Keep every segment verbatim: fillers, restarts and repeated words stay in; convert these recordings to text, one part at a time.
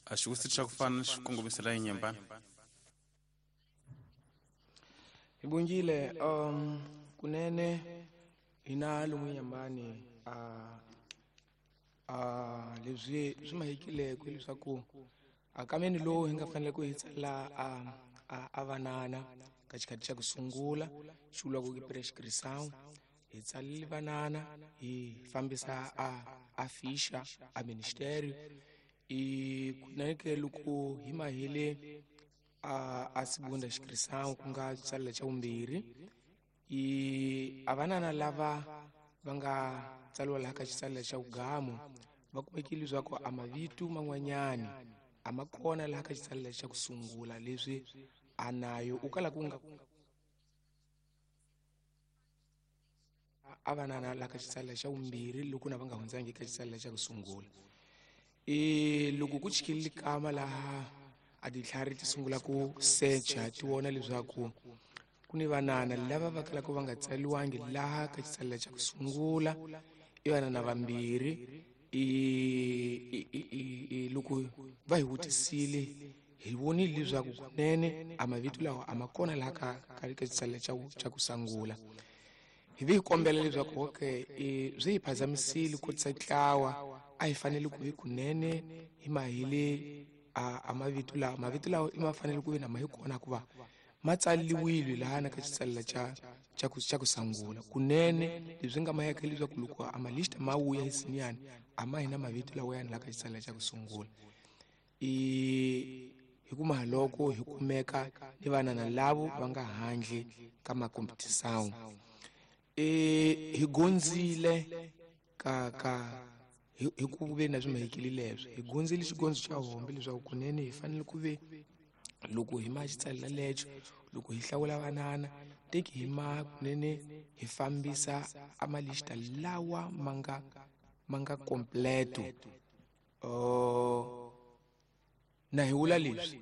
A xivutiso xa ku fana xi kongomisela enyembani. Hi bongile um kunene hina lomu Nyambani a a leswi swi mahekileko leswaku a kameni lowu hi nga fanele ku hi tsala a a vanana ka xikhathi xa ku sungula xi vuriwaka ku prescription hi tsalile vanana hi fambisa a a fisha a ministério i kunene ke loko hi mahile a a segunda inscrição ku nga tsalela xa vumbirhi i a vanana lava va nga tsariwa laha ka xitsalela xa vugamu va kumekile leswaku a mavito man'wanyani a ma kona laha ka xitsalela xa ku sungula leswi a nayo u kala ku nga a vanana laha ka xitsalela xa vumbirhi loko na va nga hundzangi ka xitsalela xa ku sungula. E loko ku chikile kama laha a ditlhari ti sungula ku secha ti vona leswaku ku ni vanana lava va kalaka va nga tsariwangi laha ka xitsalela xa ku sungula i vanana vambirhi i i loko va hi vutisile hi vonile leswaku kunene a mavito lawa a ma kona laha ka ka ka xitsalela xa xa ku sungula. Hi vi hi kombela leswaku okay swi hi phazamisile ku tisa ntlawa a hi fanele ku vi kunene hi mahile a a mavito lawa mavito lawa i ma fanele ku vi na ma hi kona hikuva ma tsariwile laha na ka xitsalela xa xa ku xa ku sungula kunene leswi nga maheka leswaku loko a malista ma vuya hi siniyani a ma hi na mavito lawa yani laha ka xitsalela xa ku sungula. I hi kuma loko hi kumeka ni vanana lavo va nga handle ka makompetisawu e hi gonzile ka ka hi ku ve na swi mahekile leswi hi gonzile xigondzo xa hombe leswaku kunene hi fanele ku ve loko hi ma xitsalela lexo loko hi hlawula vanana teki hi ma kunene hi fambisa a malista lawa ma nga ma nga completo. Uh, na hi vula leswi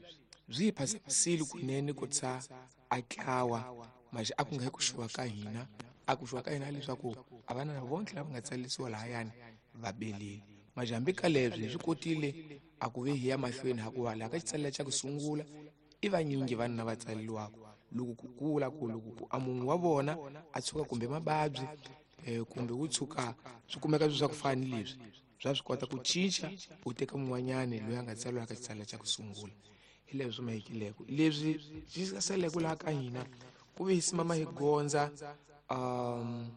byi hi phazamisile kunene ku tsa a tlawa maxe a ku nga hi ku xuwa ka hina a ku xuwa ka hina leswaku a vanana vonke lava nga tsalisiwa lahayani va belile maxe hambi ka leswi hi swi kotile a ku ve hi ya mahlweni hikuva laha ka xitsalela xa ku sungula i vanyingi vanhu lava tsariwaka loko ku kula ku loko ku a munhu wa vona a tshuka kumbe mababyi kumbe wu tshuka swi kumeka swi swa ku fana ni leswi swa swi kota ku cinca u teka mun'wanyani loyi a nga tsariwa ka xitsalela xa ku sungula. Hi leswi swi mahekileko leswi swi saleke laha ka hina ku ve hi simama hi gondza um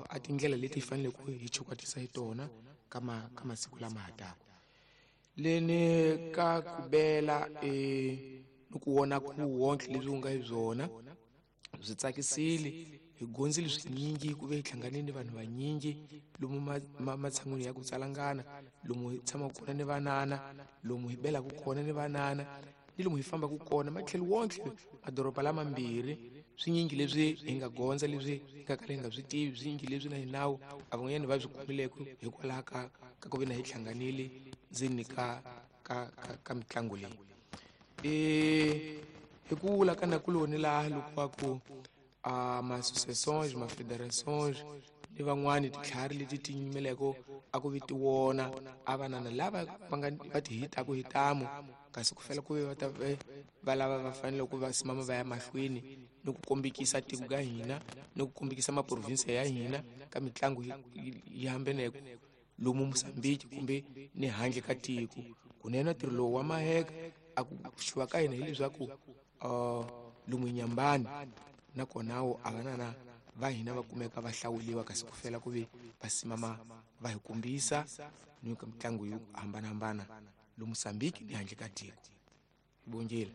a tindlela leti hi faneleke ku hi chukwatisa hi tona ka ma ka masiku lama ha taka. Leni ka ku bela e ni ku vona ku wonke leswi u nga hi byona byi tsakisile hi gonzile swinyingi ku ve hi hlanganile ni vanhu vanyingi lomu matshan'wini ya ku tsalangana lomu hi tshamaka kona ni vanana lomu hi belaka kona ni vanana ni lomu hi fambaka kona matlhelo wonke madoroba lamambirhi swinyingi leswi hi nga gondza leswi hi nga kala hi nga swi tivi swinyingi leswi na hinawu a van'wanyani va swi kumileko hikwalaho ka ka ku ve na hi hlanganile ndzeni ka ka ka ka mitlangu leyi. E hi ku vula ka nakuloni laha loko va ku a ma-associations ma-federations ni van'wani titlhari leti ti nyimeleko a ku vi ti wona a vanana lava va nga va ti hitaku hi tamu kasi ku fela ku ve va ta va lava va fanele ku va simama va ya mahlweni ni ku kombekisa tiko ka hina ni ku kombekisa maprovinsi ya hina ka mitlangu yi hambaneke lomu Mozambique kumbe ni handle ka tiko. Kunene ntirho lowu wa maheka a ku xuwa ka hina hileswaku uh, lomu Nyambani nakona wo a vanana va hina va kumeka va hlawuliwa kasi ku fela ku ve va simama va hi kombisa ni ka mitlangu yo hambanahambana lomu Mozambique ni handle ka tiko. Bongile.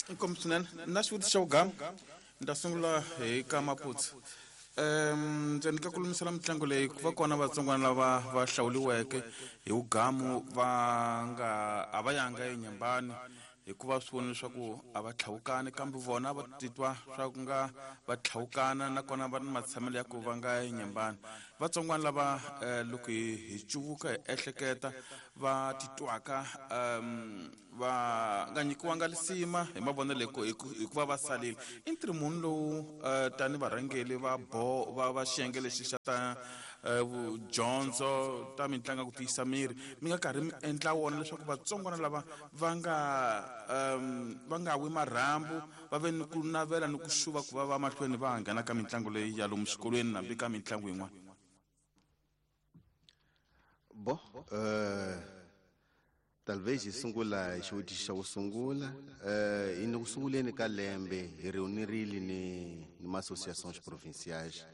Inkomu swinene na xivutiso xa vugama ni ta sungula hi ka Maputsu. Um ndzeni ka ku lumisela mitlangu leyi ku va kona vatsongwana lava va hlawuliweke hi vugamu va nga a va yanga enyambani hikuva swi vona leswaku a va tlhawukani kambe vona va titwa swa ku nga va tlhawukana nakona va ni matshamelo ya ku va nga enyambani. Vatsongwana lava eh, loko hi hi cuvuka hi ehleketa va titwaka um va nga nyikiwanga lisima hi mavonelo hi ku- hi ku- hikuva va salile. I ntirho muni lowu eh, tani varhangeri va bo va va xiyenge lexi xa ta eh, vudyondzo ta mitlangu ku tiyisa miri mi nga karhi mi endla wona leswaku vatsongwana lava va nga um va nga wi marhambu va ve ni ku navela ni ku xuva ku va va mahlweni va nghena ka mitlangu leyi ya lomu swikolweni hambi ka mitlangu yin'wana? Bo eh talvez hi sungula hi xivutiso xa ku sungula. eh hi ni ku sunguleni ka lembe hi reunirile ni ni ma-associations provinciais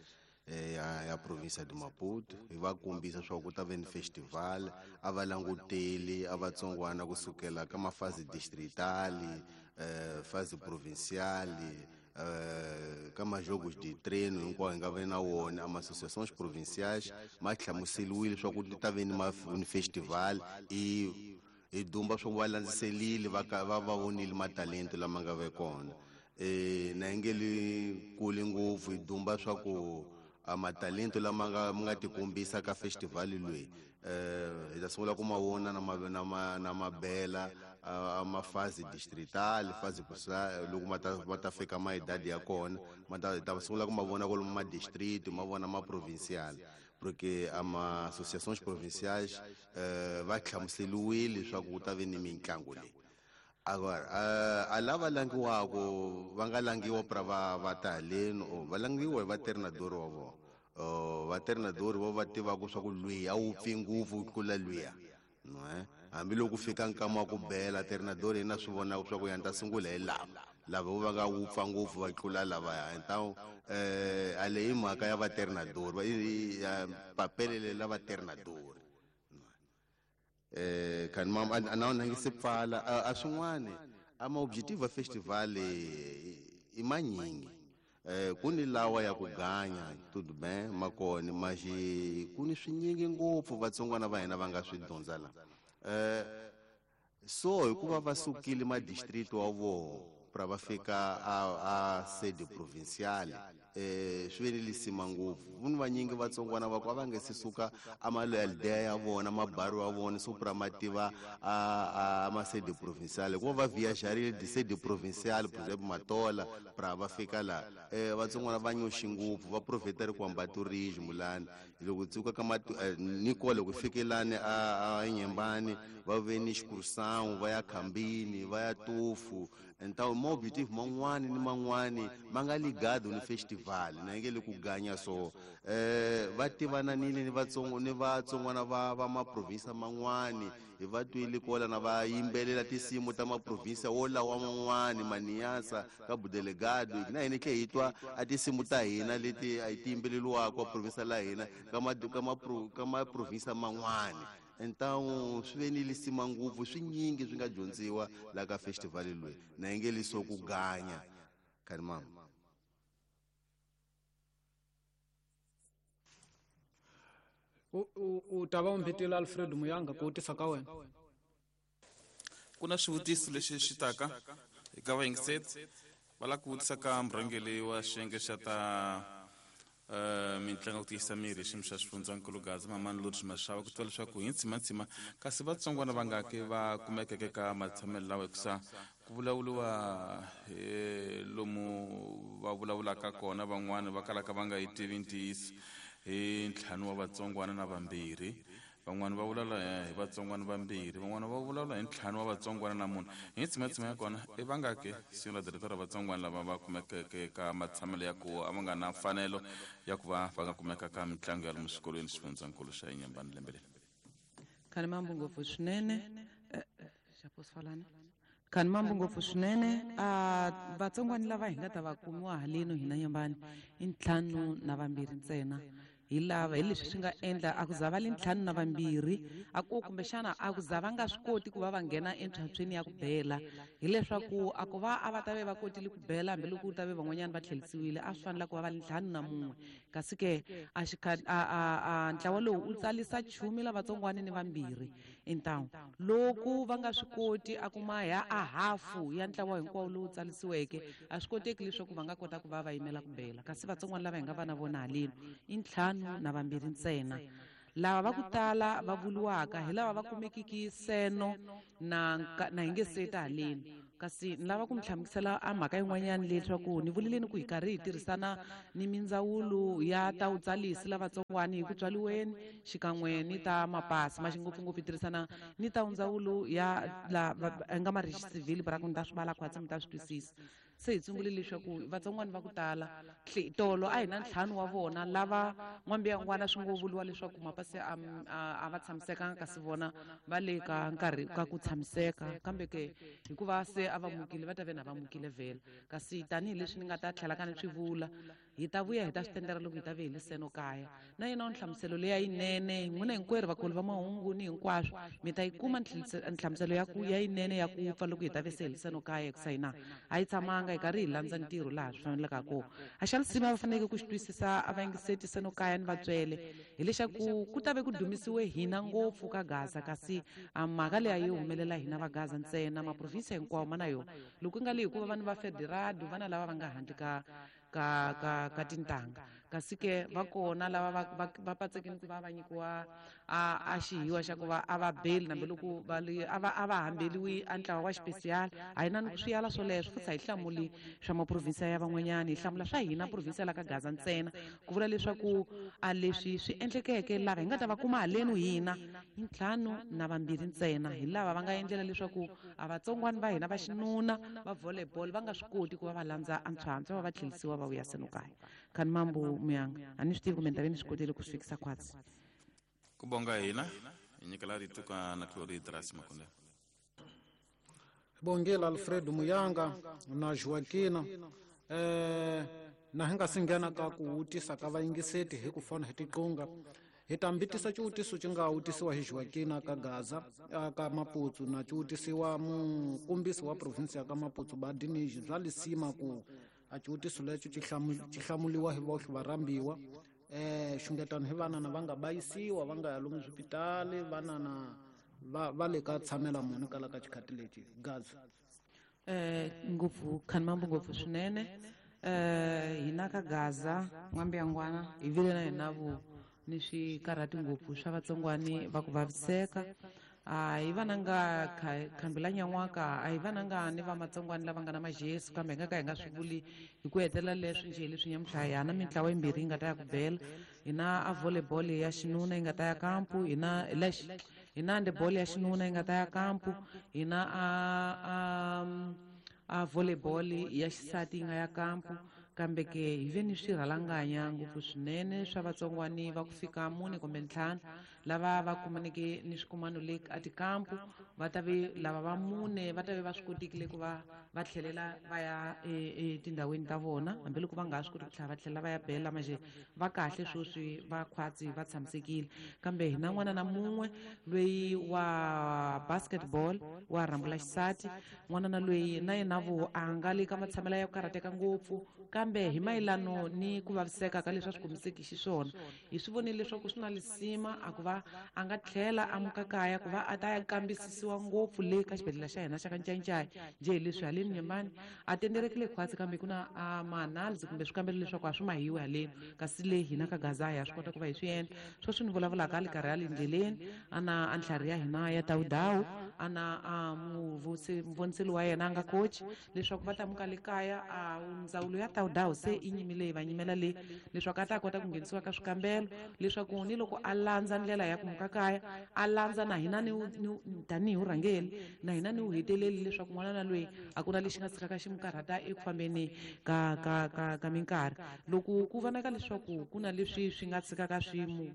eh, ya ya province de Maputo, hi va kombisa swa ku ta ve ni festival, a va languteli a vatsongwana kusukela ka mafasi distrital, eh fase provincial, eh ka majogos de treino hinkwawo hi nga ve na wona. A ma-associations provinciais ma hlamuseliwile swa ku ti ta ve ni ma ni festival, i hi dumba swa ku va landziselile va ka va va vonile matalento lama nga ve kona. Eh na yi nge li kuli ngopfu, hi dumba swa ku a matalento lama nga ma nga tikombisa ka festival leyi eh hi ta sungula ku ma vona na ma na ma na mabela a mafasi distrital, fasi kusa loko ma ta ma ta fika ma idadi ya kona, ma ta ta sungula ku ma vona kwalomu ma district, ma vona ma provincial, porque a ma associations provinciais eh va hlamuseliwile leswaku ku ta ve ni mitlangu leyi. Agora a lava langiwako va nga langiwa pra va va ta haleni o va langiwa hi vatreinador wa vona. Vatreinador vo va tivaka swa ku lwiya a wu pfi ngopfu ku tlula lwiya, no eh hambiloko fika nkama wa ku bela treinador yena swi vonaka swa ku ya ni ta sungula hi lava lava vo va nga wupfa ngopfu va tlula lavaya. Então eh a leyi mhaka ya vatreinador va ya papelele la vatreinador. Eh kan mam a na na ngi se pfala a swin'wana a ma objective festival i manyingi. Eh ku ni lawa ya ku ganya tudo bem makoni maxi ku ni swinyingi ngopfu vatsongwana va hina va nga swi dyondza la. Eh so hikuva va sukile ma district wa vona pra va fika a a sede provincial, eh swi ve ni lisima ngopfu. Vuni vanyingi vatsongwana va ku a va nge se suka a malaldea ya vona mabaru ya vona so pra ma tiva a a ma sede provincial, hikuva va viajarile di sede provincial, por exemple Matola pra va fika la. Eh vatsongwana va nyoxi ngopfu va profeteri ku hamba tourism lani loko tsuka ka ma ni kole ku fikelani a a Nyembani va ve ni xikurusangu va ya Khambini va ya Tufu. Então ma objective man'wani ni man'wani ma nga ligado ni festival na nge le ku ganya so eh va tivananile ni vatsongo ni vatsongwana va va ma province man'wani hi va twile kola na va yimbelela tinsimu ta ma province wolawa man'wani Maniasa ka Budelegado na hina tlhe hi twa a tinsimu ta hina leti a ti yimbeleliwaka province la hina ka ma ka ma ka ma province man'wani. Então swi ve ni lisima ngopfu swinyingi swi nga dyondziwa la ka festival loyi na yi nge liso ku ganya kani mama. U u ta va u mbitile Alfred Muyanga ku vutisa ka wena. Ku na swivutiso leswi swi taka eka vayingiseri va lava ku vutisa ka murhangeri wa xiyenge xa ta eh mitlangu ku tiyisa miri xiyimo xa xifundzankulu Gaza Mamani Lodge Mashava ku tiva leswaku hi ntsimantsima kasi vatsongwana va nga ke va kumekeke ka matshamelo lawa hikusa ku vulavuriwa hi lomu va vulavulaka kona van'wani va kalaka va nga yi tivi ntiyiso hi ntlhanu wa vatsongwana na vambirhi, van'wani va vulavula hi vatsongwana vambirhi, van'wani va vulavula hi ntlhanu wa vatsongwana na munhu. Hi ntsimantsima ya kona i va nga ke senhora diretora vatsongwana lava va kumekeke ka matshamelo ya ku a va nga na mfanelo ya ku va va nga kumeka ka mitlangu ya lomu swikolweni xifundzankulu xa Inhambane lembe leri. Khani mambo ngopfu swinene xaposifalana khani mambo ngopfu swinene a vatsongwana lava hi nga ta va kumiwa haleno hina Nyembani i ntlhanu na vambirhi ntsena. Hi lava hi leswi swi nga endla a ku za va le ntlhanu na vambirhi a ku kumbexana a ku za va nga swi koti ku va va nghena entlhantlhweni ya ku bela, hileswaku a ku va a va ta ve va kotile ku bela hambiloko ku ta ve van'wanyana va tlherisiwile a swi fanela ku va va le ntlhanu na mun'we. Kasi ke a a a ntlawa lowu wu tsalisa chumi lavatsongwana ni vambirhi Intawu loko va nga swi koti a kuma ya a hafu ya ntlawa hinkwawo lowu tsalisiweke a swi koteki leswaku va nga kota ku va va yimela ku bela kasi vatsongwana lava hi nga va na vona haleni i ntlhanu na vambirhi ntsena lava va ku tala va vuriwaka hi lava va kumekiki seno na na hi nge seta haleni kasi ni lava ku mi hlamusela a mhaka yin'wanyana leswaku ni vuleleni ku hi karhi hi tirhisana ni mindzawulo ya ta vutsalisi lavatsongwani hi ku tswaliweni xikan'we ni ta mapasi ma xingopfungopfu hi tirhisana ni ta ndzawulo ya la nga marixi civil bra ku ni ta swi vala khwatsi mi ta swi twisisa se hi sungule leswaku vatsongwana va ku tala tolo a hi na ntlhanu wa vona lava n'wambiyangwana swi ngo vuriwa leswaku mapasi a a va tshamisekanga kasi vona va le ka nkarhi ka ku tshamiseka kambe ke hikuva se a va mukile va ta ve na va mukile vhela kasi tanihileswi ni nga ta tlhela ka ni swi vula hi ta vuya hi ta swi tendera loko hi ta ve hi le seno kaya na yena nhlamuselo leya yinene n'wina hinkwerhu vakulu va mahungu ni hinkwaswo mi ta yi kuma nhlamuselo ya ku ya yinene ya ku pfa loko hi ta ve se hi le seno kaya hikusa hina a yi tshamanga hi karhi hi landza ntirho laha swi faneleke kona a xa lisima va faneleke ku xi twisisa a va yingiseti seno kaya ni vatswele hileswaku ku ta ve ku dumisiwe hina ngopfu ka Gaza kasi a mhaka leyi a yi humelela hina va Gaza ntsena maprovinsi hinkwawo ma na yona loko ku nga le hikuva vanhu va federado vana lava va nga handle ka ka ka ka tintanga kasi ke va kona lava va va patsekini ku va va nyikiwa a a xihiwa xa ku va a va beli nambe loko va li a va a va hambeliwi a ntlawa wa xipesiyali a hi na ni ku swi yala swoleswo futhi a hi hlamuli swa maprovinsi ya van'wanyana hi hlamula swa hina provinsi ya la ka Gaza ntsena ku vula leswaku a leswi swi endlekeke lava hi nga ta va kuma haleni hina i ntlhanu na vambirhi ntsena hi lava va nga endlela leswaku a vatsongwana va hina va xinuna va volleyball va nga swi koti ku va va landza a ntshwantswa va va tlhelisiwa va vuya seno kaya khani mambo muyanga a ni swi tivi kumbe ni ta ve ni swi kotile ku swi fikisa khwatsi ku bonga hina hi nyikela rito ka nakulori Drasi Makonde bongela Alfredo Muyanga na Joaquina eh na hi nga si nghena ka ku wutisa ka vayingiseti hi ku fona hi tiqunga hi ta mbitisa xiwutiso xi nga wutisiwa hi Joaquina ka Gaza ka Maputsu na xiwutisiwa mukombisi wa provinsi ya ka Maputsu Badiniji bya lisima ku a xiwutiso lexo xi hlamuliwa hi vohle varhambiwa eh xungetano hi vanana va nga bayisiwa va nga ya lomu swipitali vanana va va le ka tshamela munhu kala ka xikhati lexi Gaza eh ngopfu khani mambo ngopfu swinene eh hina ka Gaza n'wambiyangwana hi vile na hina vo ni swikarhati ngopfu swa vatsongwani va ku vaviseka a hi vananga khambela nyan'waka a hi vananga ni va matsongwani lava nga na majesu kambe hi nga ka hi nga swi vuli hi ku hetelela leswi njhe leswi nyamutlha hi na mintlawa yimbirhi yi nga ta ya ku bela hi na a volleyball ya xinuna yi nga ta ya kampu hi na hi na handball ya xinuna yi nga ta ya kampu hi na a a a volleyball ya xisati yi nga ya kampu kambe ke hi ve ni swirhalanganya ngopfu swinene swa vatsongwani va ku fika mune kumbe ntlhanu lava va kumaneke ni swikumano le a tikampu va ta ve lava va mune va ta ve va swi kotekile ku va va tlhelela va ya etindhawini ta vona hambiloko va nga ha swi koti ku tlhela va tlhela va ya bela manjhe va kahle sweswi va khwatsi va tshamisekile kambe hi na n'wana na mun'we loyi wa basketball wa rhambula xisati n'wana na loyi na yena vo a nga le ka matshamelo ya ku karhateka ngopfu kambe hi mayelano ni ku vaviseka ka leswi a swi komiseki xiswona hi swi vonile leswaku swi na lisima a ku va a nga tlhela a muka kaya ku va a ta ya kambisisiwa ngopfu le ka xibedhlele xa hina xa ka Ncayincaya njhe hi leswi haleni Nyembani a tenderekile khwatsi kambe ku na a ma-analysis kumbe swikambelo leswaku a swi mahiwi haleni kasi le hina ka Gaza ha swi kota ku va hi swi endla sweswi ni vulavulaka a le karhi a le ndleleni a na a ntlhari ya hina ya dawudawu a na a muvoniseli wa yena a nga coach leswaku va ta muka le kaya a ndzawulo ya dawudawu se i nyimile va nyimela le leswaku a ta kota ku nghenisiwa ka swikambelo leswaku ni loko a landza ndlela ya ku muka kaya a landza na hina ni tanihi vurhangeri na hina ni wu heteleli leswaku n'wana na loyi a ku na lexi nga tshikaka xi mu karhata eku fambeni ka ka ka ka minkarhi loko ku vonaka leswaku ku na leswi swi nga tshikaka swi mu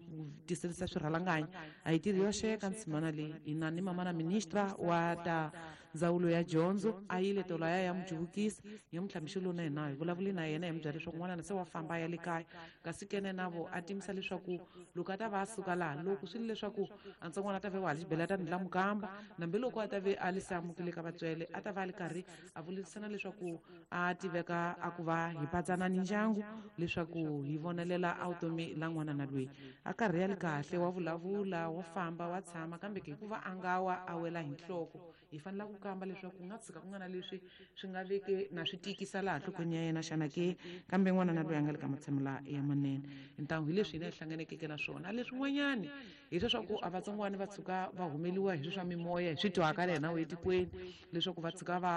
tiselisa swirhalanganya a hi tirhi yoxe ka nsimana leyi hina ni mama na ministra wa ta ndzawulo ya dyondzo a yile tolo ya ya mujuvukisa hi mutlhamixo na hina hi vulavuli na yena hi mu byela leswaku n'wanana se wa famba ya le kaya kasi kene na vo a timisa leswaku loko a ta va a suka laha loko swi le leswaku a ntsongwana a ta ve wa ha xibela ta ni la mukamba nambi loko a ta ve a li se amukile ka vatswele a ta va a li karhi a vulisana leswaku a tiveka a ku va hi patsana ni ndyangu leswaku hi vonelela a vutomi la n'wana na loyi a karhi ya li kahle wa vulavula wa famba wa tshama kambe ke hikuva a nga wa a wela hi nhloko hi fanela ku kamba leswaku ku nga tshuka ku nga na leswi swi nga veke na swi tikisa laha nhlokweni ya yena xana ke kambe n'wana na loyi a nga le ka matshamelo ya manene ntangu hi leswi hina hi hlanganekeke na swona leswin'wanyani hi leswaku a vatsongwana va tshuka va humeliwa hi swa mimoya hi swi twaka le hina etikweni leswaku va tshuka va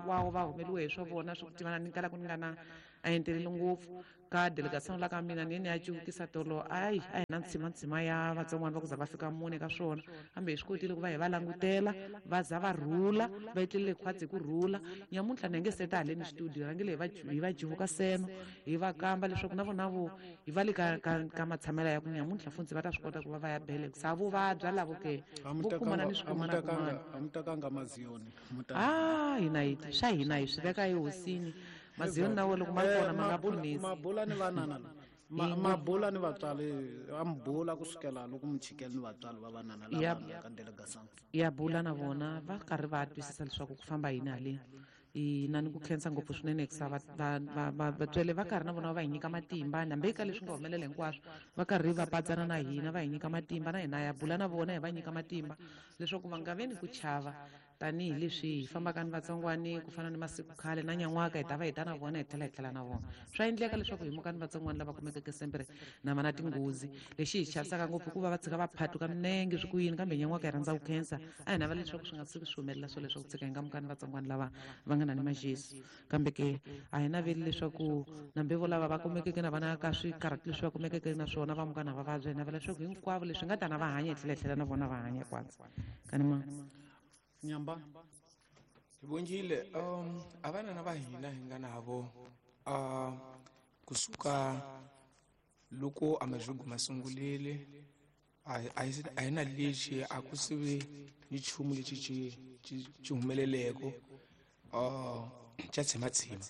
va va humeliwa hi swa vona swa ku tivana ni kala ku ni nga na a enteleli ngopfu ka delegation la ka mina ni ni ya cuvukisa tolo ayi a hi na ntshima ya vatsongwana va ku za va fika mune ka swona kambe hi swi kotile ku va hi va langutela va za va rhula va etlelele khwatsi hi ku rhula nyamuntlha ni nge seta haleni studio rhangile hi va hi va juvuka seno hi va kamba leswaku na vona vo hi va le ka ka ka matshamela ya ku nyamuntlha funtsi va ta swi kota ku va va ya bele sa vo vabya lavo ke vo kumana ni swikumana kumana a mi tekanga maziyoni ah hina hi swa hina hi swi veka ehosini maziyoni na wo loko ma ri kona ma nga pfunisi mabula ni vanana mabula ni vatswari a mi bula kusukela loko mi chikele ni vatswari va vanana lava nga ka delegation ya bula na vona va karhi va twisisa leswaku ku famba yini haleni ina ni ku khensa ngopfu swinene hikusa vatswele va karhi na vona va hi nyika matimba hambi eka leswi nga humelela hinkwaswo va karhi va patsana na hina va hi nyika matimba na hina ya bula na vona hi va nyika matimba leswaku va nga ve ni ku chava tanihileswi hi fambaka ni vatsongwani ku fana ni masiku khale na nyan'waka hi ta va hi ta na vona hi tlhela hi tlhela na vona swa endleka leswaku hi muka ni vatsongwani lava kumekeke sempere na va na tinghozi lexi hi chavisaka ngopfu hikuva va tshika va phatuka minenge swi ku yini kambe nyan'waka hi rhandza ku khensa a hi navela leswaku swi nga tshuki swi humelela swo leswaku tshika hi nga muka ni vatsongwani lava va nga na ni majesu kambe ke a hi naveli leswaku nambe vo lava va kumekeke na vana ka swikarhati leswi va kumekeke na swona va muka na va vabya hi navela leswaku hinkwavo leswi nga ta na va hanya hi tlhela hi tlhela na vona va hanya kwatsa kanima nyamba hi vongile um a vanana va hina hi nga navo uh kusuka loko a majugu ma sungulile a a hi na lexi a ku sivi ni nchumu lexi xi xi humeleleko uh xa tshimatshima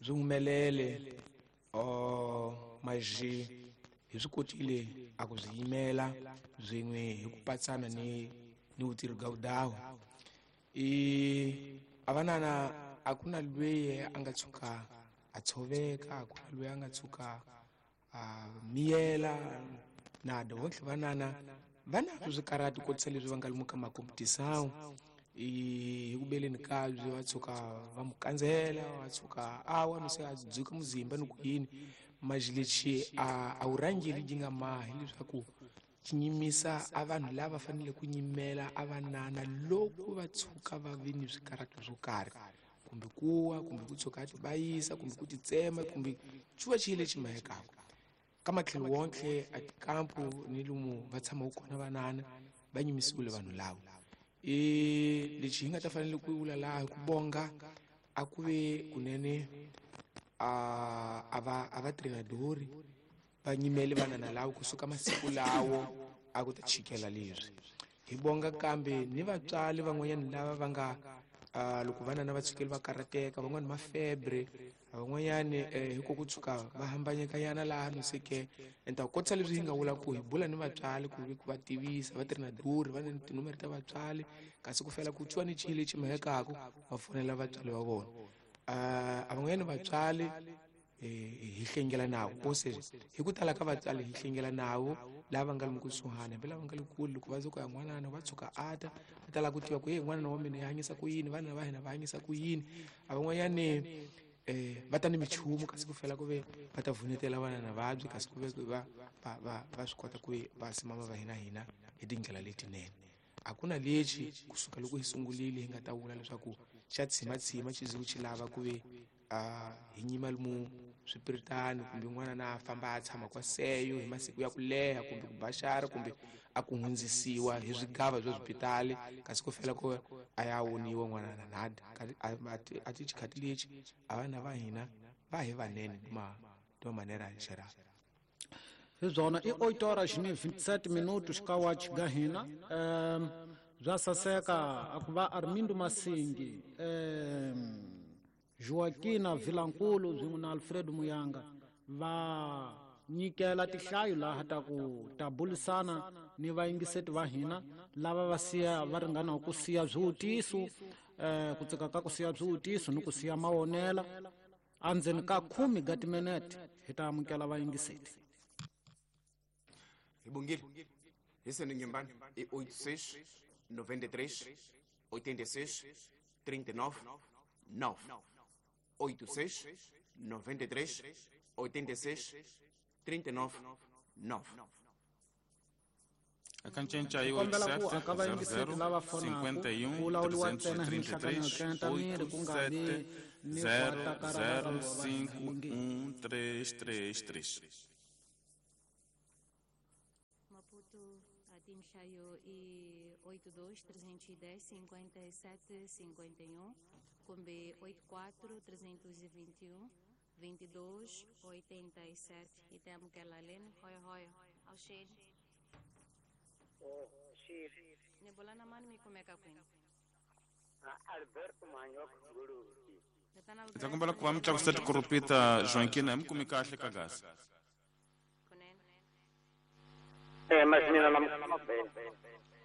byi humelele uh maji hi swi kotile a ku byi yimela byin'we hi ku patsana ni ni vutirhi ga vudawu i a vanana a ku na lweyi a nga tshuka a tshoveka a ku na lweyi a nga tshuka a miyela nada vontlhe vanana va na swikarhati kotisa leswi va nga lomu ka makompetisawu i hi ku beleni kabye va tshuka va mu kandzela va tshuka a wa no se a dzuka muzimba ni ku yini maji lexi a a wu rhangeli ji nga mahi leswaku xi nyimisa a vanhu lava fanele ku nyimela a vanana loko va tshuka va vi ni swikarhati swo karhi kumbe kuwa kumbe ku tshuka a tibayisa kumbe ku titsema kumbe xuva xi lexi mahekaka ka matlhelo wontlhe a tikampu ni lomu va tshamaka kona vanana va nyimisiwile vanhu lava i lexi hi nga ta fanele ku vula laha hi ku bonga a ku ve kunene a a va a va trenadori va nyimele vanana lavo kusuka masiku lawo a ku ta chikela leswi hi bonga kambe ni vatswari van'wanyana lava va nga loko vanana va tshukeli va karhateka van'wani ma febre van'wanyani hi ku ku tshuka va hambanyekanyana laha no se ke enta kotisa leswi hi nga vula ku hi bula ni vatswari ku ku va tivisa va trenadori va ni tinomere ta vatswari kasi ku fela ku twiwa ni xilo lexi mahekaka va fonela vatswari va vona a van'wanyani vatswari hi hlengela navo kose hi ku tala ka vatswari hi hlengela navo lava nga lomu kusuhani hambi lava nga le kule loko va ze ku ya n'wanana va tshuka a ta va tala ku tiva ku ye n'wanana wa mina yi hanyisa ku yini vana va hina va hanyisa ku yini a van'wanyani um va ta ni michumu kasi ku fela ku ve va ta vunetela vanana vabyi kasi ku ve va va va va swi kota ku ve va simama va hina hina hi tindlela letinene a ku na lexi kusuka loko hi sungulile hi nga ta vula leswaku xa tshimatshima xi ze xi lava ku ve hi nyima lomu swipiritani kumbe n'wana na famba a tshama kwa seyo hi masiku ya ku leha kumbe ku baxara kumbe a ku hundzisiwa hi swigava bya swipitali kasi ku fela ku a ya woniwa n'wana na nada a ti xikhati lexi a vana va hina va hi vanene ma de maneira geral hi byona i oito horas ni vinte e sete minutos ka watch ga hina um Bya saseka a ku va Armindo Masingi, eh Joaquina Vilankulu swin'we na Alfredo Muyanga va nyikela tihlayo laha ta ku ta bulisana ni vayingiseti va hina lava va siya va ringana ku siya swivutiso, eh ku tsika ka ku siya swivutiso ni ku siya mawonela. Andzeni ka khume ga timinete hi ta amukela vayingiseti. Hi bongile hi sene nyumbani i oito seis noventa e três oitenta e seis trinta e nove nove oito seis noventa e três oitenta e seis trinta e nove nove. Akancenca aí oito sete zero zero cinquenta e um trezentos e trinta e três oito sete zero zero cinco um três três três. Maputo, a Tinchaio e oito dois trezentos e dez cinquenta e sete cinquenta e um, Combi oito quatro trezentos e vinte e um vinte e dois oitenta e sete. E temos que ela lendo, hoi hoi, ao cheiro. Nebolana mani mi kumeka kwini. Alberto Manyoka Guru. Ndza kombela ku va mi tlakusa tikurupita Joaquina mi kumi kahle ka gasi. Eh mas mina na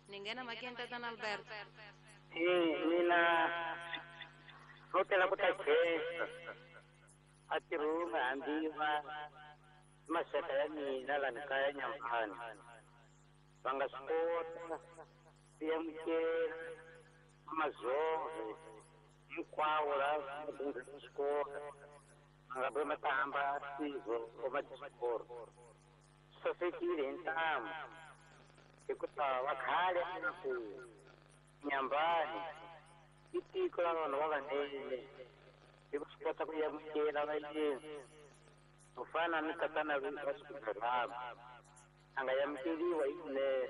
Ninguém makena tata Alberto. Eh mina hotela ku ta khensa. A tirhuma hambiwa maxaka ya mina lani kaya Nyambani. Va nga swi kota ku amukela mazove hinkwawo laha va swi kota va nga ve ma ta hamba sizo va tisikoro. Swi sasekile hi ntamu hikuva va khale a ku Nyambani i tiko ra vanhu va vanene hi ku swi kota ku amukela vayeni ku fana ni tatana va Swiburhama a nga amukeriwa hi kunene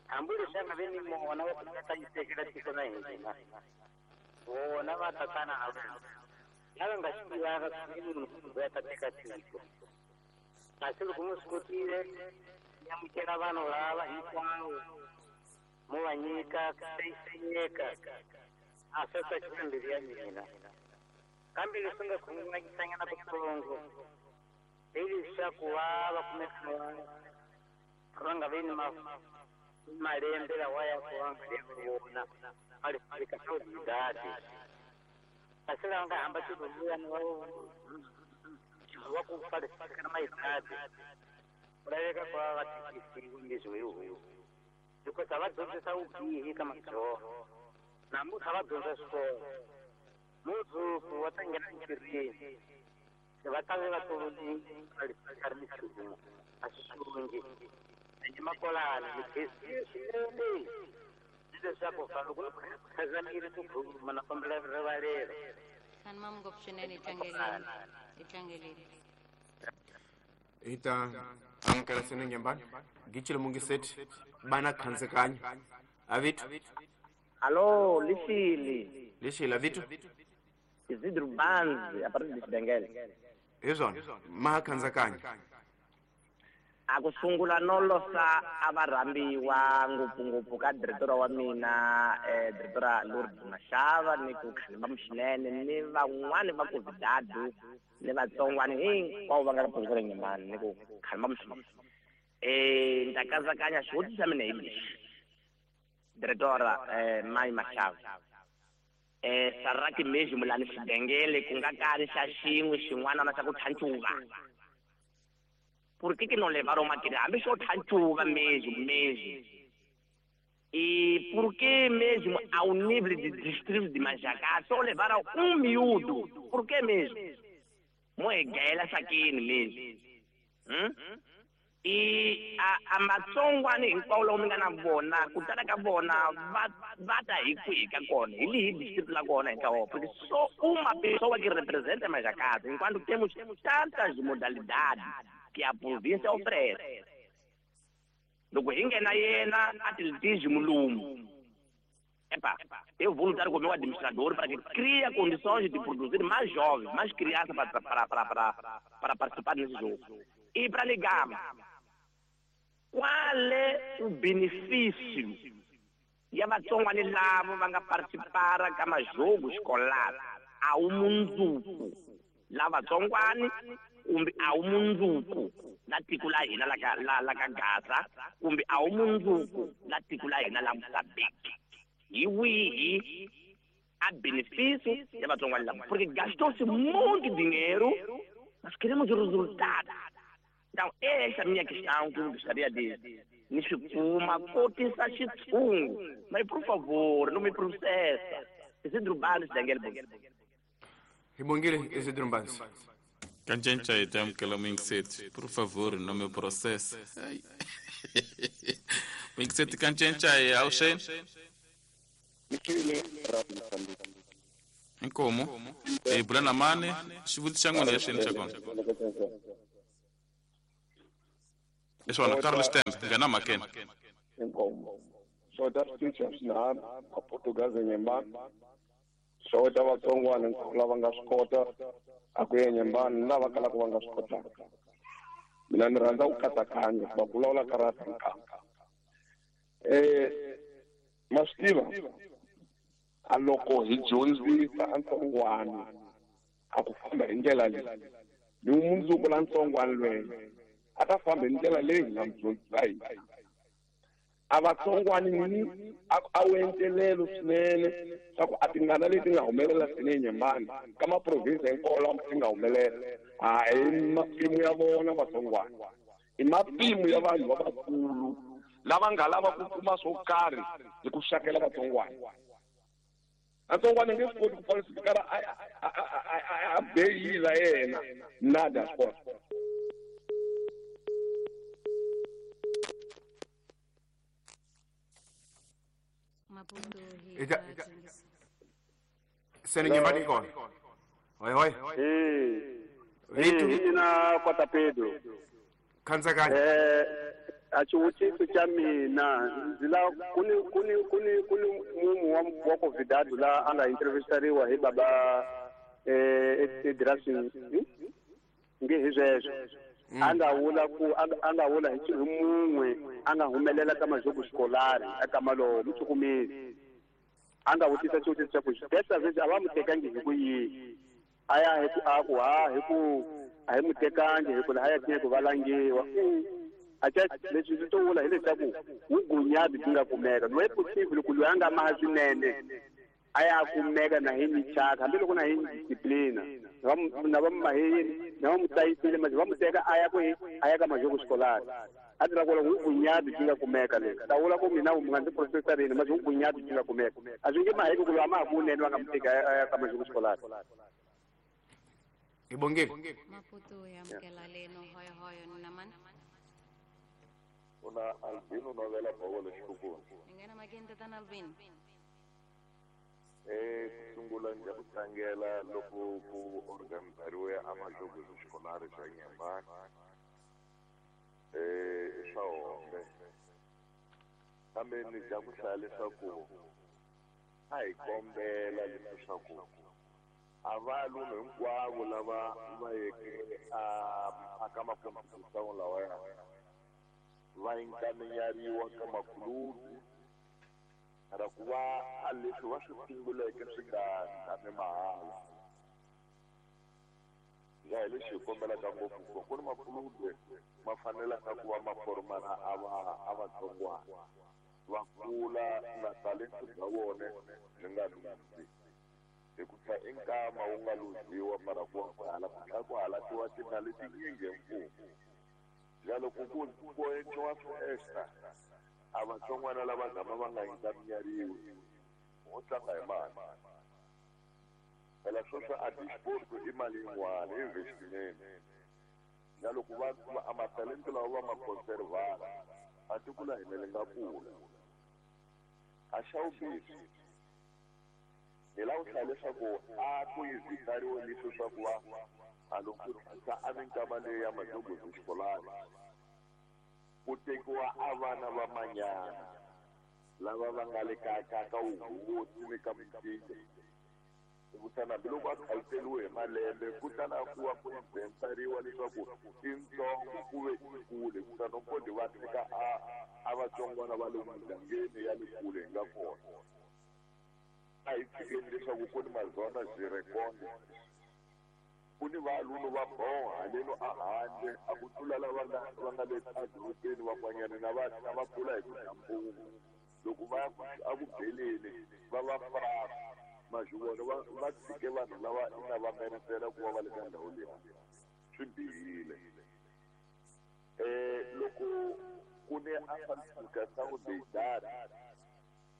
hambi leswi a nga ve ni mona wa ku ta yisekela tiko na hina vona va tatana a vona lava nga swi tivaka ku i munhu loyi a ta teka tiko kasi loko mi swi kotile mi amukela vanhu lava hinkwavo mo va nyika ku hlayiseka a swi tsakisa mbilu ya mina kambe leswi nga khunguvanyisanyana kutsongo hi leswaku va va kumeka va nga vi ni malembe lawa ya ku va nga ri vona va ri fika swa kasi lava nga hamba xilunguyani va wa ku falifika na mayidadi ku laveka ku va va tikisiwe leswi hi huku hikuva va dyondzisa vubihi ka madzoho namuntlha va dyondza swikolo mundzuku va ta nghena entirhweni va ta ve va tolovile ri nchumu a swi xungi ende makolana ni khensile swinene ni leswaku fa loko ni khazamile ku khuluma na kombela rivalelo. Khani mam ngopfu swinene hi tlangeleni hi tlangeleni. Hi ta amukela sene Nyambani gicile mungiseti bana khansekanyo avitu. Alô, Lixile. Lixile avitu. Isidro Banzi, a partir de Xibengele. Hi swona ma khansekanyo. A ku sungula no losa a va rhambiwa ngopfungopfu ka diretora wa mina eh diretora Lourdes Mashava ni ku Khalimba Mxinene ni van'wani va Covidado ni vatsongwani hinkwavo va nga ka province ya Nyambani ni ku Khalimba Mxinene. Eh ni ta katsakanya xivutiso xa mina hi lexi diretora eh Mai Mashava eh saraki mesmo lani Xibengele ku nga kali xa xin'we xin'wana na xa ku tlhancuva. Por que que não levaram material? Hambi xo tlhancuva mesmo, mesmo. E por que mesmo ao nível de distrito de Manjacá só levaram um miúdo? Por que mesmo? Moegela sakini mesmo. Hum? E a, a matsongwani hinkwavo lava mi nga na vona ku tala ka vona va va ta hi kwihi ka kona hi lihi distrito la kona hi ntlawa porque só uma pessoa que representa Manjacá enquanto temos tantas modalidades que a província oferece. Loko hi nghena yena atletismo lumu epa, eu vou lutar com o meu administrador para que crie condições de produzir mais jovens, mais crianças para, para, para, para, para participar nesse jogo. E para ligar, qual é o benefício ya vatsongwani lavo va nga participara ka majogo escolar a wu mundzuku la vatsongwani kumbe a wu mundzuku la tiko la hina la ka la la ka Gaza kumbe a wu mundzuku la tiko la hina la Mozambique. Hi wihi a benefício ya vatsongwani lava? Porque gastou-se muito dinheiro, mas queremos o resultado. Então, essa é a minha questão que eu gostaria de me chupuma, cotisa xitshungu. Mas, por favor, não me processa. Isidro Banzi, Daniel Bongile. Hi bongile Isidro Banzi. Kancenca hi ta amukela muyingiseti. Por favor, não me processa. Muyingiseti kancenca hi awuxeni. Inkomo. Hi bula na mani, xivutiso xa n'wina exeni xa kona. Leswana Carlos Tembe, nghena mhakeni. Inkomo. Xota switichi swinharhu Maportugazi Nyembani. Xota vatsongwana lava nga swi kota a ku ya Nyembani ni lava kalaka va nga swi kotaka. Mina ni rhandza ku katsakanya va vulavula ka ra nkanga. Eh ma swi tiva a loko hi dyondzisa a ntsongwana a ku famba hi ndlela leyi ni mundzuku la ntsongwana lweyo a ta famba hi ndlela leyi hi nga mu dyondzisa hi a vatsongwani ni a wu entelelo swinene swa ku a tingana leti nga humelela swinene Nyembani ka maprovinsi hinkwawo lama ti nga humelela a hi mapimo ya vona vatsongwana i mapimo ya vanhu lavakulu lava nga lava ku kuma swo karhi hi ku xakela vatsongwana. Vatsongwana nge swi koti ku falsifikara a beyila yena nada sport. Maputo hi Eka seni Nyembani kona. Hoi hoi. Eh. Eh, mina Kota Pedro. Khandzakanya. Eh, a xivutiso xa mina ndzi la ku ni ku ni ku ni ku ni mumu wa wa convidado la a nga intervistariwa hi baba eh edrasini nge hi sweswo a nga vula ku a nga vula hi mun'we a nga humelela ka majogo xikolari eka malowo muchukumeli a nga vutisa xivutiso xa ku desa vezi a va mu tekangi hi ku yini a ya hi ku a ku ha hi ku a hi mu tekangi hi ku lahaya tiye ku valangiwa acha leswi swi to vula hileswaku vugunyabi byi nga kumeka loyi possible ku loyi a nga maha swinene a ya kumeka na hi michaka hambiloko na hi disciplina na va maheyini na va mu tlayisile manje va mu teka a ya kwihi a ya ka majogo xikolari a tirha ku vugunyabi byi nga kumeka leswi ta vula ku mina mu nga ndzi profesarini manje vugunyabi byi nga kumeka a swi nge maheki ku loyi a ma ha kunene va nga mu teki a ya ka majogo xikolari. Hi bongile. Maputo hi amukela leno hoyohoyo na mani. Una Albino novela Bovolo xikukulu. Nghena makeni tatana Albino. Eh ku sungula ndzi ku tlangela loko ku organizariwe a majogo xikolari xa Nyembani. Eh swa hombe. Kambe ni dya ku hlaya leswaku a hi kombela leswaku a va lunu hinkwavo lava va yeke a ka makompetition lawaya va inkamenyariwa ka makulubi ra ku va a leswi va swi sunguleke swi nga tshami mahala. Ya hi lexi hi kombelaka ngopfu ku ku ni makulubi ma fanelaka ku va ma formana a va a vatsongwana va kula na talento bya vona byi nga luzi hi ku tlha i nkama wu nga luziwa mara ku va ku hala ku tlhela ku halatiwa timali tinyingi hi mfumo. Ya loko ku ku endliwa festa a vatsongwana lava gama va nga inkamenyariwi wo tlanga hi mali phela sweswo a disport i mali yin'wana investment ya loko va a matalento lawa va ma conservana a tiko la hina li nga kula a xa vumbirhi hi lava ku hlaya leswaku a ku yizitariwe leswi swa ku va a loko ku a minkama leyi ya majogozi xikolani ku tekiwa a vana va manyana lava va nga le ka ka ka wuhosi ni ka micinca kutani hambiloko a khaliseliwe hi malembe kutani a ku va ku inventariwa leswaku i ntsongo ku ve i kule kutani kodi va teka a a A vatsongwana va le mugangeni ya le kule hi nga kona. A hi tshikeni leswaku ku ni mazona zirekonde. Ku ni valunu va boha haleno a handle a ku tlula lava nga va nga le edorobeni van'wanyana na va na va kula hi ku dya mpungu. Loko va ya a ku beleni va va fraka mazivona va va tshike vanhu lava ina va merisela ku va va le ka ndhawu leyi swi bihile. Eh loko ku ne a falsificação de idade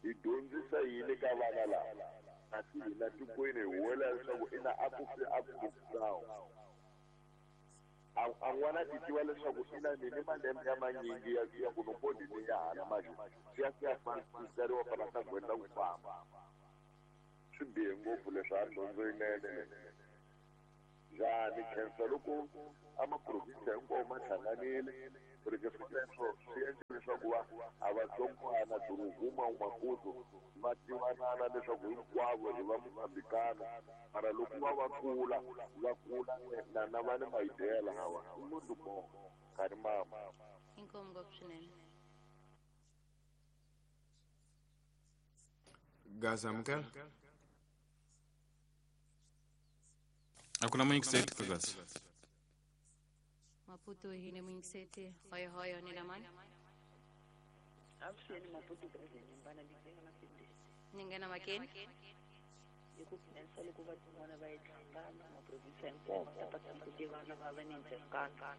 hi dyondzisa yini ka vana lava kasi hina tikweni hi huwelela leswaku ina a ku fi a ku a a n'wana ti tiva leswaku ina ni ni malembe ya manyingi ya ya ku nomboni ni ya hala manje swi ya swi ya falsifikariwa fana ta gwenda ku famba. Swi bihe ngopfu leswi a dyondzo yinene njhani khensa loko a maprovinsi hinkwawo ma hlanganile porque sweswo swi endla leswaku va a vatsongwana duruguma Maputo va tivanana leswaku hinkwavo hi va Mozambikana mara loko va va kula va kula na na va ni maidea lawa i munhu mo karhi mama. Inkomu ngopfu swinene. Gaza amukela. A ku na muyingiseti ka Gaza. Maputo hi ne muyingiseti hoyo hoyo ni lamani. Avuxeni Maputo president Nyembana ni nghena makeni. Ni nghena makeni. Hi ku khensa loko vatsongwana va yi hlangana maprovinsi hinkwawo va ta pata ku tivana va va ni ndzhengano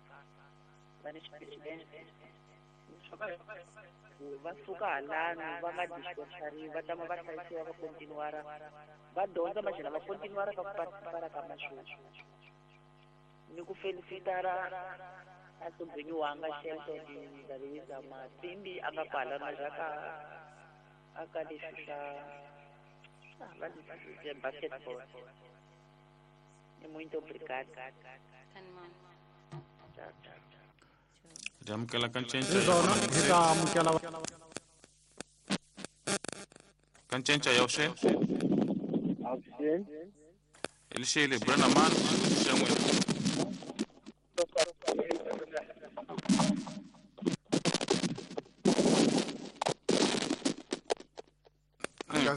va ni xipresidente va suka halano va nga dispersariwi va tama va hlayisiwa va continuara va dyondza maxana va continuara ka ku participara ka maxoxo. Ni ku felicitara a sobrinho wanga Shelton Ndabeza Matsimbi a nga kwala majaka a ka leswi swa va leswi basketball. Ni muito obrigado. Tchau, tchau. Hi amukela ka ncinca Hi swona hi ta amukela ka ncinca ya vuxeni. Avuxeni. Elixele Brenda Man xa n'wina.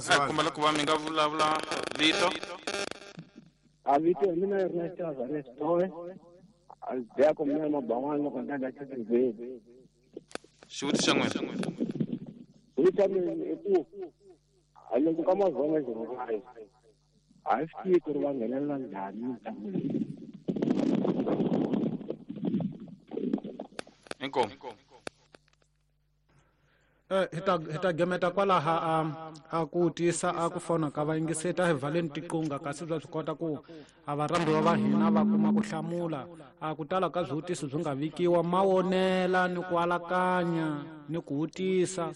A kombela ku va mi nga vulavula vito. A vito ya mina Ernest Azareth Towe. A biya ku mina maban'wana loko ni endla xivheli. Xivutiso xa n'wina. Xivutiso xa mina i ku a loko ka mazona zero five a hi swi tivi ku ri va nghenelela njhani mitlangu leyi. Inkomu. Eh hi ta hi ta gemeta kwalaha a a ku tisa a ku fona ka vayingiseti a hi valeni tiqunga kasi bya swi kota ku a varhambiwa va hina va kuma ku hlamula a ku tala ka swivutiso byi nga vikiwa mawonela ni ku alakanya ni ku vutisa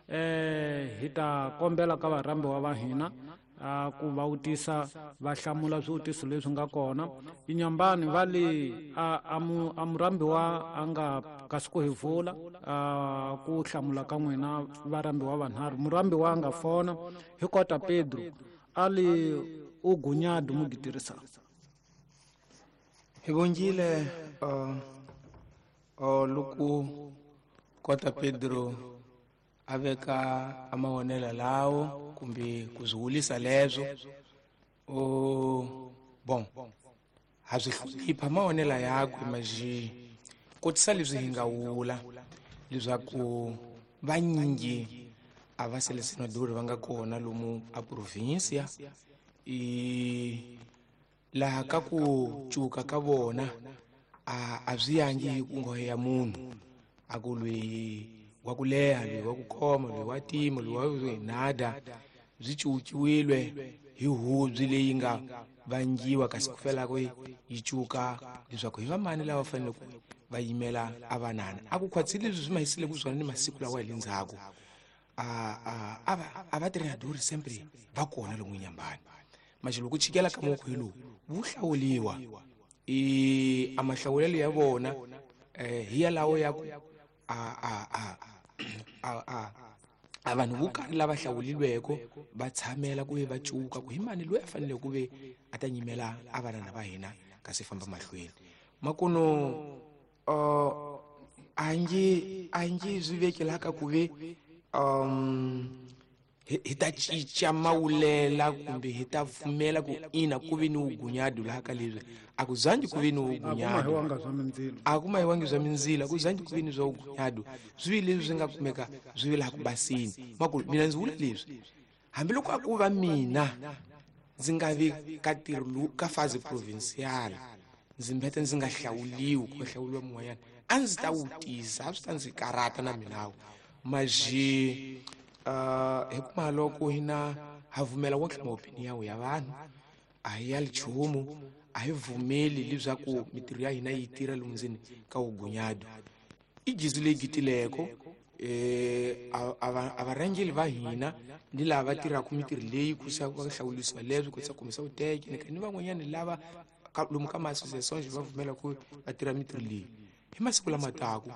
eh hi ta kombela ka varhambiwa va hina a ku va vutisa va hlamula swivutiso leswi nga kona. Inyambani va le a a mu a murhambiwa a nga kasi ku hi vula a ku hlamula ka n'wina varhambiwa vanharhu. Murhambiwa a nga fona hi kota Pedro a le u gunyadu mugitirisa. Hi vongile uh, uh, loko kota Pedro a veka a mavonelo lawo kumbe ku swi wulisa leswo o bon ha swi hlonipha mavonelo yakwe maxi kotisa leswi hi nga wula leswaku vanyingi a va selesenadori va nga kona lomu a provinsia i laha ka ku cuka ka vona a a swi yangi hi ku nghohe ya munhu a ku lweyi wa ku leha loyi wa ku khoma loyi wa tima loyi wa nada byi cuciwile hi hubyi leyi nga vangiwa kasi ku felako yi cuka leswaku hi vamani lava fanele ku va yimela a vanana a ku khwatsile leswi swi mahisile ku swona ni masiku lawa hi le ndzhaku a a a va a va treinador sempre va kona lomu Nyambani manje loko chikela ka moko hi lowu wu hlawuliwa i a mahlawulelo ya vona eh hi yalawo ya ku a a a a a a vanhu vo karhi lava hlawulilweko va tshamela ku ve va cuka ku hi mani loyi a fanele ku ve a ta nyimela a vanana va hina kasi famba mahlweni makuno uh, a nge a nge swi vekelaka ku ve um hi ta cinca mawulela kumbe hi ta pfumela ku ina ku ve ni vugunyadu laha ka leswi a ku zangi ku ve ni vugunyadu a ku mahiwangi bya mindzilo a ku zangi ku ve ni bya vugunyadu swi vi leswi swi nga kumeka swi vi laha ku basini makulu mina ndzi vula leswi hambiloko a ku va mina ndzi nga vi ka ntirho lowu ka faze provincial ndzi mbeta ndzi nga hlawuliwi ku hlawuliwa mun'wanyana a ndzi ta wutisa a swi ta ndzi karata na minawu maji uh hi kuma loko hina ha vumela wonke maopinion ya vanhu a hi ya nchumu a hi vumeli leswaku mitirho ya hina yi tirha lomu ndzeni ka vugunyadu i jizu leyi gitileko eh a varhangeli va hina ni lava va tirhaka mitirho leyi ku sa va hlawulisiwa leswi ku sa kumisa vuteke ni van'wanyana lava lomu ka ma-association va vumela ku va tirha mitirho leyi hi masiku lama taku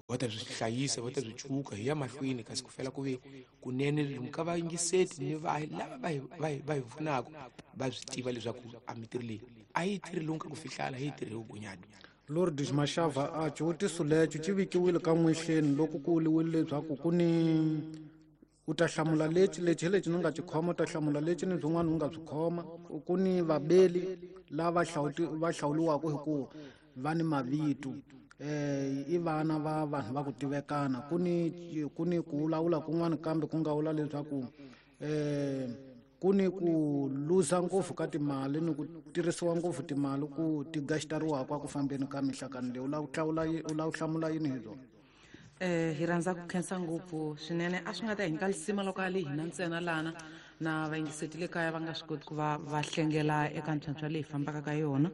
va ta byi hlayisa va ta byi cuka hi ya mahlweni kasi ku fela ku ve kunene lomu ka vayingiseti ni va lava va hi va hi pfunaka va swi tiva leswaku a mitirho leyi a yi tirhi lomu ka ku fihlala hi yi tirhi hi vugunyadu. Lourdes Mashava a xivutiso lexo xi vikiwile ka n'wexeni loko ku vuriwile leswaku ku ni u ta hlamula lexi lexi hi lexi ni nga xi khoma u ta hlamula lexi ni byin'wana u nga byi khoma ku ni vabeli lava va hlawuliwaka hi ku va ni mavito eh i vana va vanhu va ku tivekana ku ni ku ni ku vulavula kun'wana kambe ku nga vula leswaku eh ku ni ku luza ngopfu ka timali ni ku tirhisiwa ngopfu timali ku ti gastariwaka ku fambeni ka mihlakano leyi u lava ku hlawula u lava ku hlamula yini hi byona. Eh hi rhandza ku khensa ngopfu swinene a swi nga ta hi nyika lisima loko a li hina ntsena lana na vayingiseti le kaya va nga swi koti ku va va hlengela eka ntlhantlha leyi fambaka ka yona.